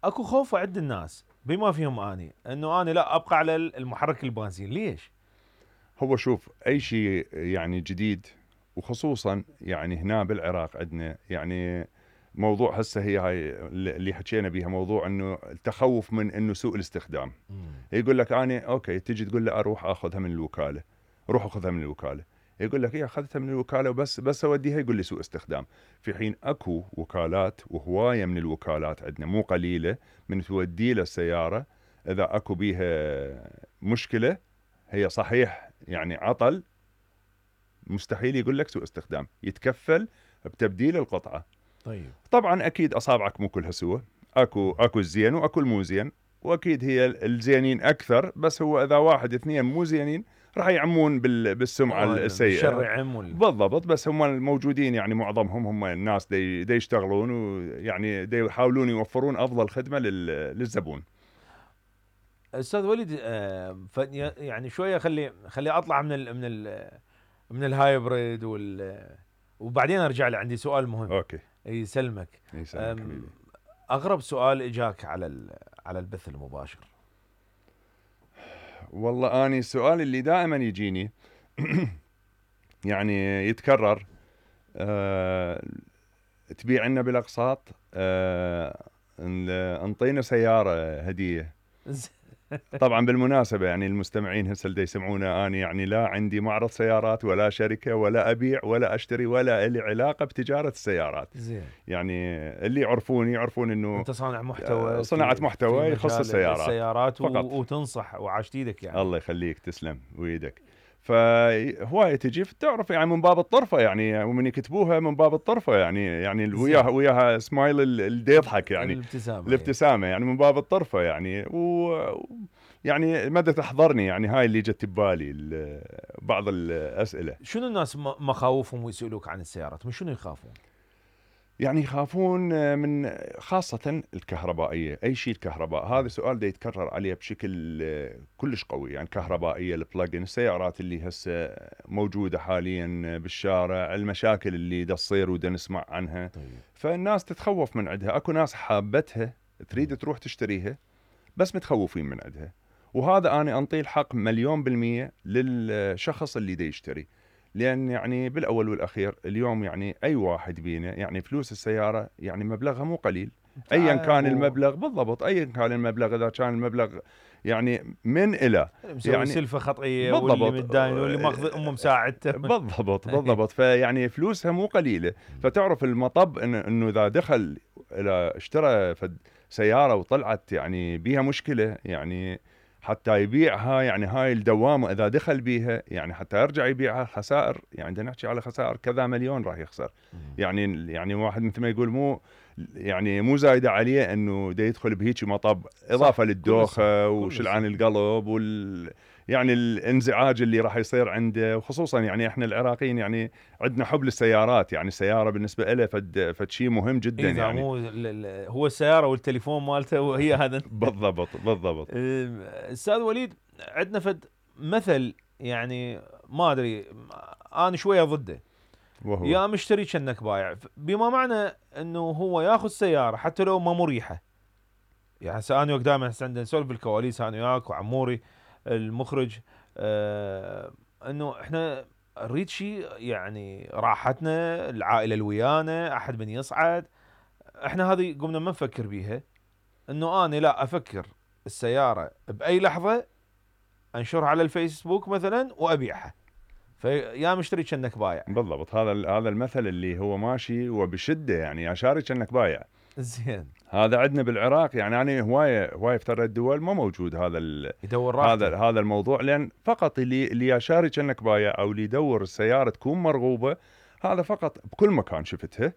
اكو خوف عند الناس بما فيهم اني انه انا لا ابقى على المحرك البنزين. ليش؟ هو شوف اي شيء يعني جديد، وخصوصا يعني هنا بالعراق عندنا يعني موضوع هسه هي هاي اللي حكينا بيها، موضوع انه التخوف من انه سوء الاستخدام. يقول لك انا اوكي، تجي تقول له اروح اخذها من الوكاله، روح اخذها من الوكاله، يقول لك اخذتها من الوكاله وبس اوديها، يقول لي سوء استخدام. في حين اكو وكالات وهوايه من الوكالات عندنا مو قليله من تودي له السياره اذا اكو بيها مشكله. هي صحيح يعني عطل، مستحيل يقول لك سوء استخدام، يتكفل بتبديل القطعه. طيب طبعا اكيد اصابعك مو كلها سوى، اكو الزين واكو المو زين، واكيد هي الزينين اكثر، بس هو اذا واحد اثنين مو زينين راح يعمون بالسمعه السيئه. الشر يعم بالضبط، بس هم الموجودين يعني معظمهم هم الناس دي يشتغلون، ويعني دي يحاولون يوفرون افضل خدمه للزبون. استاذ وليد، يعني شويه خلي اطلع من الهايبريد وبعدين ارجع لي، عندي سؤال مهم. اوكي يسلمك. حبيبي. اغرب سؤال اجاك على البث المباشر؟ والله اني السؤال اللي دائما يجيني يعني يتكرر، تبيع لنا بالاقساط، انطينا سياره هديه. طبعا بالمناسبه يعني المستمعين هسه اللي يسمعونا، اني يعني لا عندي معرض سيارات ولا شركه ولا ابيع ولا اشتري ولا لي علاقه بتجاره السيارات. زين. يعني اللي يعرفون انه انت صانع محتوى، صناعه محتوى يخص السيارات فقط. وتنصح وعاشت ايدك يعني. الله يخليك، تسلم ويدك. فهوايه تجي تعرف يعني من باب الطرفه، يعني ومن يكتبوها من باب الطرفه، يعني وياها سمايل اللي يضحك، يعني الابتسامه يعني من باب الطرفه يعني. يعني مدى تحضرني يعني هاي اللي جت ببالي بعض الاسئله. شنو الناس مخاوفهم ويسالوك عن السيارات؟ من شنو يخافون؟ يعني يخافون من خاصة الكهربائية، أي شيء الكهرباء. هذا سؤال دا يتكرر عليه بشكل كلش قوي. يعني كهربائية، البلاجن، السيارات اللي هسه موجودة حاليا بالشارع، المشاكل اللي دا تصير ودا نسمع عنها. طيب. فالناس تتخوف من عندها. أكو ناس حابتها تريد تروح تشتريها بس متخوفين من عندها، وهذا أنا أنطيه الحق 100% للشخص اللي دا يشتري. لأن يعني بالأول والأخير اليوم يعني أي واحد بينا يعني فلوس السيارة يعني مبلغها مو قليل، أيا كان المبلغ. بالضبط، أيا كان المبلغ، إذا كان المبلغ يعني من إلى يعني سلفة خطئية، واللي متداين واللي ماخذ أمه مساعدته. بالضبط. فيعني فلوسها مو قليلة. فتعرف المطب إنه إذا دخل إلى اشترى سيارة وطلعت يعني بيها مشكلة، يعني حتى يبيعها، يعني هاي الدوامة إذا دخل بيها يعني حتى يرجع يبيعها خسائر. يعني بدنا نحكي على خسائر كذا مليون راح يخسر. يعني واحد مثل ما يقول مو زايدة عليه انه دا يدخل بهيك مطب، اضافة للدوخة وشلعان القلب يعني الانزعاج اللي راح يصير عنده. وخصوصا يعني احنا العراقيين يعني عندنا حب للسيارات، يعني السيارة بالنسبة له فد شيء مهم جدا. يعني مو هو السيارة والتليفون مالته وهي هذا. بالضبط. استاذ وليد، عندنا فد مثل يعني ما ادري، انا شوية ضده، وهو يا مشتري كأنك بايع، بما معنى انه هو ياخذ سيارة حتى لو ما مريحة. يعني هسه انا دائما عندنا نسولف بالكواليس انا وياك وعموري المخرج، انه احنا نريد شيء يعني راحتنا، العائله اللي ويانا، احد من يصعد. احنا هذه قمنا ما نفكر بيها، انه انا لا افكر السياره باي لحظه انشرها على الفيسبوك مثلا وابيعها، فيا مشتري كأنك بايع. بالضبط، هذا المثل اللي هو ماشي وبشده، يعني يا شاري كأنك بايع. زين. هذا عندنا بالعراق، يعني انا هوايه في ترى الدول ما موجود يدور راحته. هذا الموضوع. لان فقط اللي يا شاري كأنك بايع او اللي يدور السياره تكون مرغوبه، هذا فقط بكل مكان شفتها.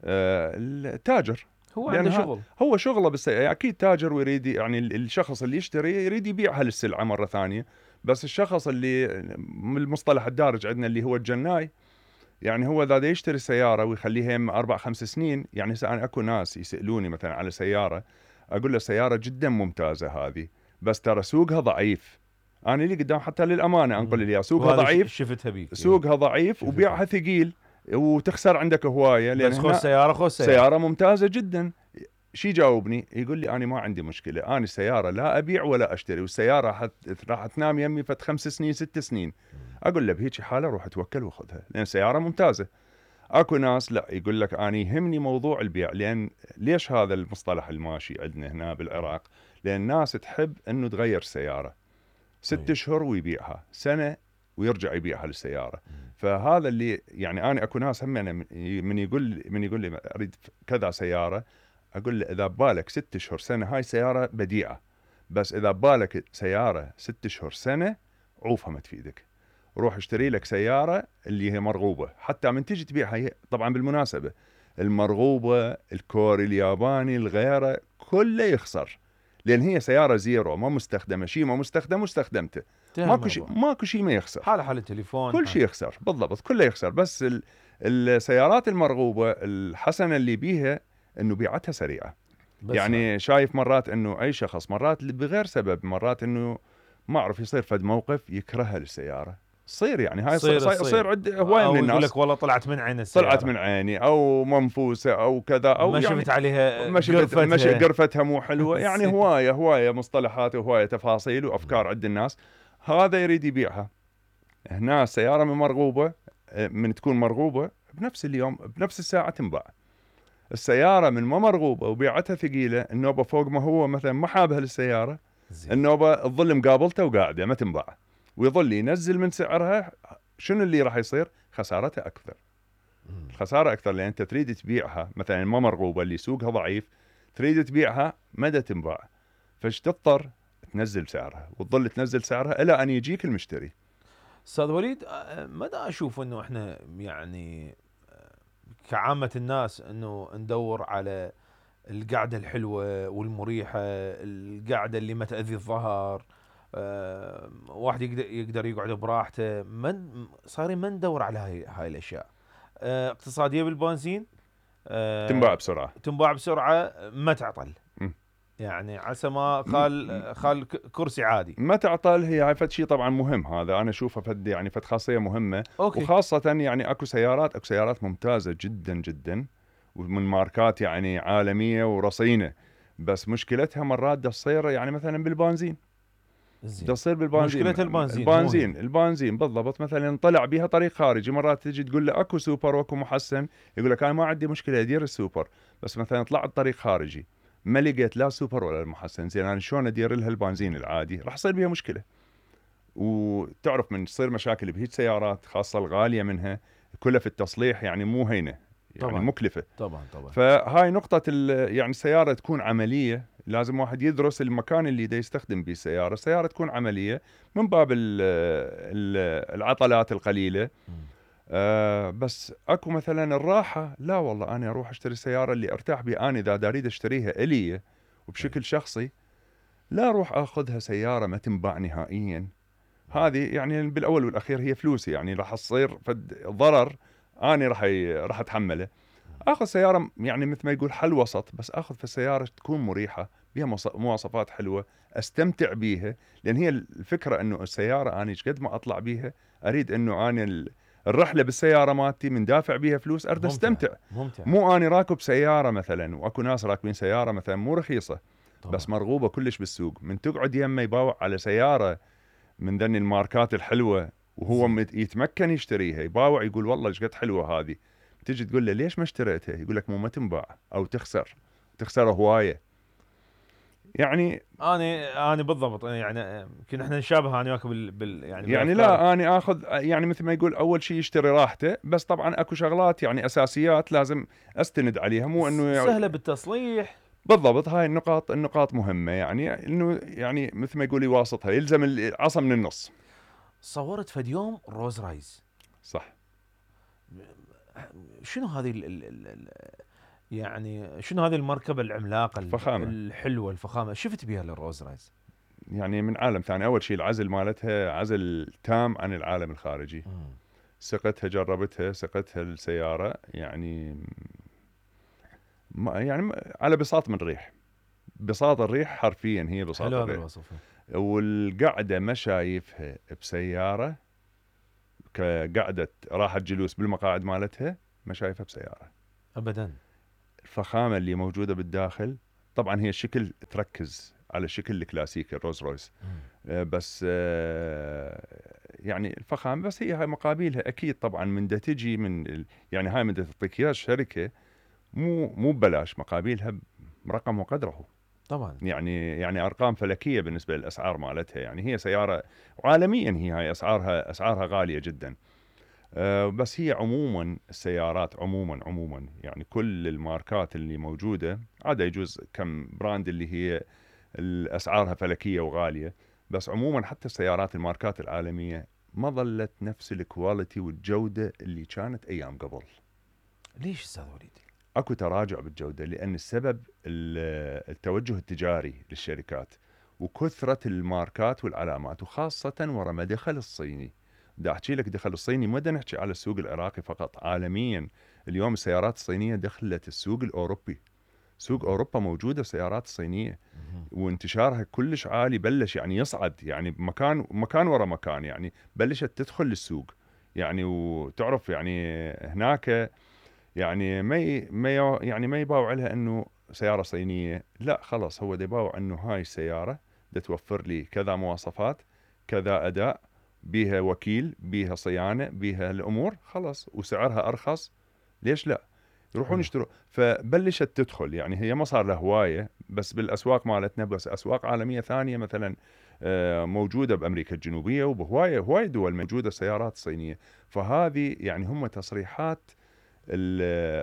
التاجر هو عنده شغل، هو شغله بالسيارة. اكيد تاجر ويريد يعني الشخص اللي يشتري يريد يبيعها للسلعه مره ثانيه. بس الشخص اللي من المصطلح الدارج عندنا اللي هو الجناي، يعني هو اذا يشتري سياره ويخليها 4-5 سنين. يعني انا اكو ناس يسالوني مثلا على سياره، اقول له سياره جدا ممتازه هذه، بس ترى سوقها ضعيف. انا اللي قدام حتى للامانه انقل لي سوقها ضعيف، شفتها بيك سوقها ضعيف وبيعها ثقيل وتخسر عندك هوايه. لان بس سياره سياره ممتازه جدا. شي جاوبني يقول لي انا ما عندي مشكله، انا السياره لا ابيع ولا اشتري، والسياره راح تنام يمي فت 5 سنين 6 سنين. اقول له بهيجي حاله روح توكل وخذها لان السياره ممتازه. اكو ناس لا يقول لك انا يهمني موضوع البيع، لان ليش هذا المصطلح الماشي عندنا هنا بالعراق؟ لان الناس تحب انه تغير السياره 6 اشهر ويبيعها، سنه ويرجع يبيعها للسياره. فهذا اللي يعني انا اكو ناس هم من يقول لي اريد كذا سياره، اقول له اذا ببالك 6 اشهر سنه هاي سياره بديعه، بس اذا ببالك سياره 6 اشهر سنه عوفها ما تفيدك. روح اشتري لك سياره اللي هي مرغوبه، حتى من تجي تبيعها هي طبعا بالمناسبه المرغوبه الكوري الياباني الغيره كله يخسر، لان هي سياره زيرو ما مستخدمه، شيء ما مستخدم واستخدمته ماكو شيء ما يخسر، حال التليفون كل شيء يخسر بالضبط، كله يخسر. بس السيارات المرغوبه الحسنه اللي بيها انه بيعتها سريعه. يعني شايف مرات انه اي شخص مرات بغير سبب، مرات انه ما اعرف يصير فد موقف يكرهها للسياره، صير يعني هاي صير عند هوايه من الناس، يقول لك والله طلعت من عين السياره، طلعت من عيني او منفوسه او كذا، او ما يعني شفت عليها قرفتها مو حلوه يعني هوايه مصطلحات وهوايه تفاصيل وافكار عند الناس. هذا يريد يبيعها. هنا السياره من مرغوبه، من تكون مرغوبه بنفس اليوم بنفس الساعه تنباع. السياره من ما مرغوبه وبيعتها ثقيله، النوبه فوق ما هو مثلا ما حابها للسياره، النوبه تظل مقابلته وقاعده ما تنباع، ويظل ينزل من سعرها. شنو اللي راح يصير؟ خسارتها اكثر. الخساره اكثر، لان انت تريد تبيعها مثلا ما مرغوبه اللي سوقها ضعيف، تريد تبيعها مدى تنباع، فايش تضطر تنزل سعرها وتظل تنزل سعرها الى ان يجيك المشتري. استاذ وليد، مدى اشوف انه احنا يعني كعامه الناس انه ندور على القعده الحلوه والمريحه، القعده اللي ما تاذي الظهر، واحد يقدر يقعد براحته، صايرين ما ندور على هاي الاشياء. اقتصاديه بالبنزين، تنباع بسرعه ما تعطل. يعني عسى ما خال كرسي عادي ما تعطل. هي فد شيء طبعا مهم، هذا انا اشوفه فد يعني فد خاصيه مهمه. أوكي. وخاصه يعني اكو سيارات ممتازه جدا جدا ومن ماركات يعني عالميه ورصينه، بس مشكلتها مرات تصير يعني مثلا بالبنزين. تصير بالبنزين، مشكلة البنزين بالضبط. مثلا طلع بها طريق خارجي، مرات تجي تقول له اكو سوبر واكو محسن، يقول لك انا ما عندي مشكله ادير السوبر، بس مثلا طلعت طريق خارجي ما لقيت لا سوبر ولا المحسن، زين انا شلون ادير لها البنزين العادي؟ راح يصير بها مشكله. وتعرف من تصير مشاكل بهيج سيارات خاصه الغاليه منها، كلها في التصليح يعني مو هينه، يعني طبعًا مكلفه. طبعا. فهاي نقطه يعني السياره تكون عمليه، لازم واحد يدرس المكان اللي دا يستخدم به السياره تكون عمليه من باب العطلات القليله. بس اكو مثلا الراحه، لا والله انا اروح اشتري السياره اللي ارتاح بها، انا اذا اريد اشتريها الي وبشكل شخصي لا اروح اخذها سياره ما تنباع نهائيا. هذه يعني بالاول والاخير هي فلوسي، يعني راح تصير ضرر انا راح اتحمله. اخذ سياره يعني مثل ما يقول حل وسط، بس اخذ في السياره تكون مريحه بها مواصفات حلوه استمتع بيها. لان هي الفكره انه السياره انا ايش قد ما اطلع بيها اريد انه انا الرحله بالسياره مالتي من دافع بيها فلوس اريد استمتع. ممتع. مو اني راكب سياره مثلا، واكو ناس راكبين سياره مثلا مو رخيصه طبعا، بس مرغوبه كلش بالسوق، من تقعد يمه يباوع على سياره من ذني الماركات الحلوه وهو يتمكن يشتريها، يباوع يقول والله ايش قد حلوه هذه، تجي تقول له ليش ما اشتريتها؟ يقول لك مو ما تنباع او تخسر هوايه. يعني انا بالضبط، يعني يمكن احنا نشابه انا وياك يعني لا انا اخذ يعني مثل ما يقول اول شيء يشتري راحته، بس طبعا اكو شغلات يعني اساسيات لازم استند عليها، مو انه سهله بالتصليح. بالضبط. هاي النقاط مهمه، يعني انه يعني مثل ما يقول يواسطها، يلزم العصا من النص. صورت فد يوم روز رايز، صح؟ شنو هذه يعني شنو هذه المركبه العملاقه الحلوه الفخامه شفت بها للروز رايز؟ يعني من عالم ثاني. اول شيء العزل مالتها عزل تام عن العالم الخارجي. سقتها جربتها سقتها السياره يعني يعني على بساط من ريح، بساط الريح حرفيا هي بساط الريح. حلو هذا الوصف. والقعده ما شايفها بسياره كقعده راحه جلوس بالمقاعد مالتها، ما شايفها بسياره ابدا. الفخامه اللي موجوده بالداخل طبعا هي الشكل تركز على الشكل الكلاسيكي الرولز رويس، بس يعني الفخامه، بس هي هاي مقابلها اكيد طبعا من دا تجي من يعني هاي من دا تعطيك اياها الشركه مو ببلاش، مقابلها برقم وقدره طبعا يعني ارقام فلكيه بالنسبه للاسعار مالتها. يعني هي سياره عالميا هي هاي اسعارها غاليه جدا. بس هي عموما السيارات عموما يعني كل الماركات اللي موجوده، عدا يجوز كم براند اللي هي اسعارها فلكيه وغاليه، بس عموما حتى السيارات الماركات العالميه ما ظلت نفس الكواليتي والجوده اللي كانت ايام قبل. ليش استاذ وليد؟ اكو تراجع بالجوده، لان السبب التوجه التجاري للشركات وكثره الماركات والعلامات، وخاصه ورا ما دخل الصيني. بدي احكي لك دخل الصيني، ما بدنا نحكي على السوق العراقي فقط، عالميا اليوم السيارات الصينيه دخلت السوق الاوروبي. سوق اوروبا موجوده السيارات الصينيه، وانتشارها كلش عالي، بلش يعني يصعد، يعني مكان ورا مكان، يعني بلشت تدخل للسوق. يعني وتعرف يعني هناك يعني ما يباوع لها انه سياره صينيه، لا خلاص هو يباوع انه هاي السياره توفر لي كذا مواصفات، كذا اداء، بيها وكيل، بيها صيانه، بيها الامور، خلاص وسعرها ارخص، ليش لا يروحون يشتروا. فبلشت تدخل، يعني هي ما صار لها هوايه بس بالاسواق مالتنا، بس اسواق عالميه ثانيه مثلا موجوده بامريكا الجنوبيه وبهوايه دول موجوده سيارات صينيه. فهذه يعني هم تصريحات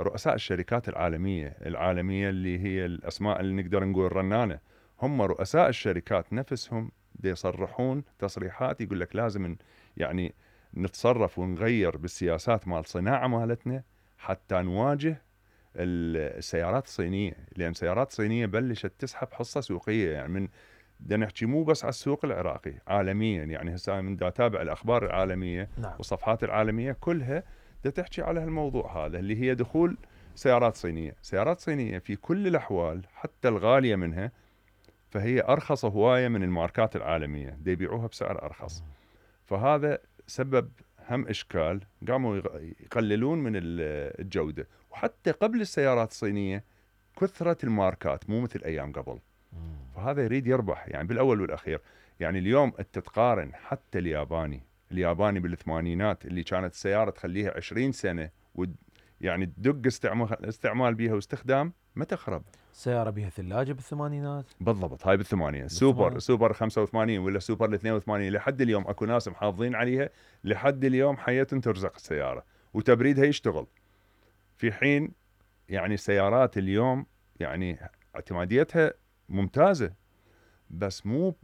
رؤساء الشركات العالميه اللي هي الاسماء اللي نقدر نقول رنانه، هم رؤساء الشركات نفسهم يصرحون تصريحات يقول لك لازم يعني نتصرف ونغير بالسياسات مال الصناعه مالتنا حتى نواجه السيارات الصينيه، لان السيارات الصينيه بلشت تسحب حصه سوقيه. يعني من بدنا نحكي مو بس على السوق العراقي، عالميا، يعني هسه من دا اتابع الاخبار العالميه نعم. والصفحات العالميه كلها دا تحكي على هالموضوع هذا، اللي هي دخول سيارات صينيه في كل الاحوال حتى الغاليه منها، فهي ارخص هوايه من الماركات العالميه، دا يبيعوها بسعر ارخص. فهذا سبب هم اشكال، قاموا يقللون من الجوده. وحتى قبل السيارات الصينيه كثره الماركات مو مثل ايام قبل، فهذا يريد يربح يعني بالاول والاخير. يعني اليوم انت تقارن حتى الياباني بالثمانينات اللي كانت السياره تخليها 20 سنه يعني تدق استعمال بيها واستخدام ما تخرب. سياره بها ثلاجه بالثمانينات بالضبط، هاي بالثمانية سوبر 85 ولا سوبر 82 لحد اليوم اكو ناس محافظين عليها، لحد اليوم حياة ترزق السياره وتبريدها يشتغل. في حين يعني السيارات اليوم يعني اعتماديتها ممتازه بس مو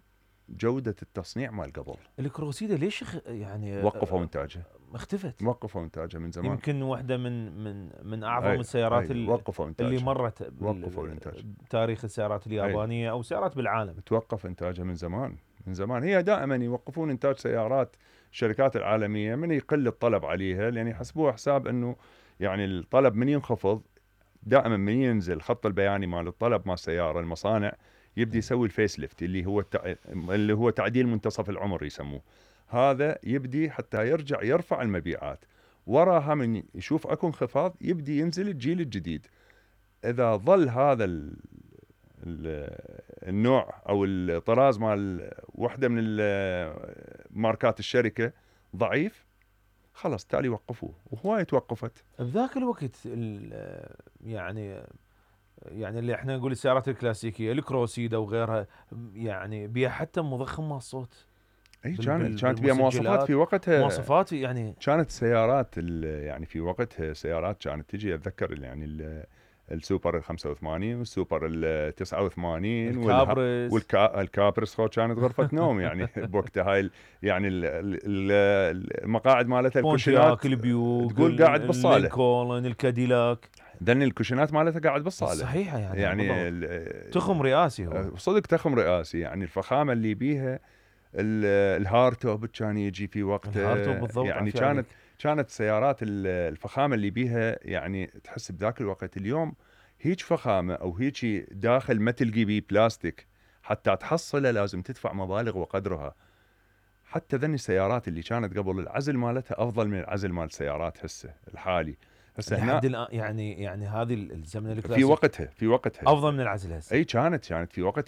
جوده التصنيع مال قبل. الكروسيدا ليش يعني وقفوا انتاجها، اختفت؟ وقفوا انتاجها من زمان. يمكن واحده من اعظم السيارات وقفوا اللي مرت وقفوا الانتاج بتاريخ السيارات اليابانيه او سيارات بالعالم. توقف انتاجها من زمان. هي دائما يوقفون انتاج سيارات الشركات العالميه من يقل الطلب عليها، لان يحسبوها حساب انه يعني الطلب من ينخفض دائما، من ينزل خط البياني مال الطلب مال السياره، المصانع يبدي يسوي الفيس ليفت اللي هو تعديل منتصف العمر يسموه. هذا يبدي حتى يرجع يرفع المبيعات، وراها من يشوف اكو انخفاض يبدي ينزل الجيل الجديد. اذا ظل هذا النوع او الطراز مال وحده من ماركات الشركه ضعيف، خلاص تالي وقفوه، وهواي توقفت بذاك الوقت. يعني اللي احنا نقول السيارات الكلاسيكيه الكروسيدا وغيرها، يعني بيها حتى مضخم مال الصوت. اي كانت بيها مواصفات في وقتها، مواصفات يعني كانت سيارات يعني في وقتها سيارات كانت تجي، اتذكر يعني السوبر 85 والسوبر 89 والكابرس كانت غرفه نوم يعني بوقتها. هاي يعني المقاعد مالتها الكوشنات البيوك، تقول قاعد بالصاله، اللينكولن، الكاديلاك، ذن الكوشنات مالتها قاعد بالصاله صحيحه يعني تخم رئاسي، هو صدق تخم رئاسي. يعني الفخامه اللي بيها الهارتوب كان يجي في وقته، يعني كانت سيارات الفخامه اللي بيها يعني تحس بذاك الوقت. اليوم هيك فخامه او هيك داخل ما تلقي بيه بلاستيك، حتى تحصله لازم تدفع مبالغ وقدرها. حتى ذني السيارات اللي كانت قبل العزل مالتها افضل من العزل مال السيارات هسه الحالي. هسه لحد هنا الان يعني هذه الزمن في الكلاسيك وقتها افضل من العزل هسه. اي كانت في وقتها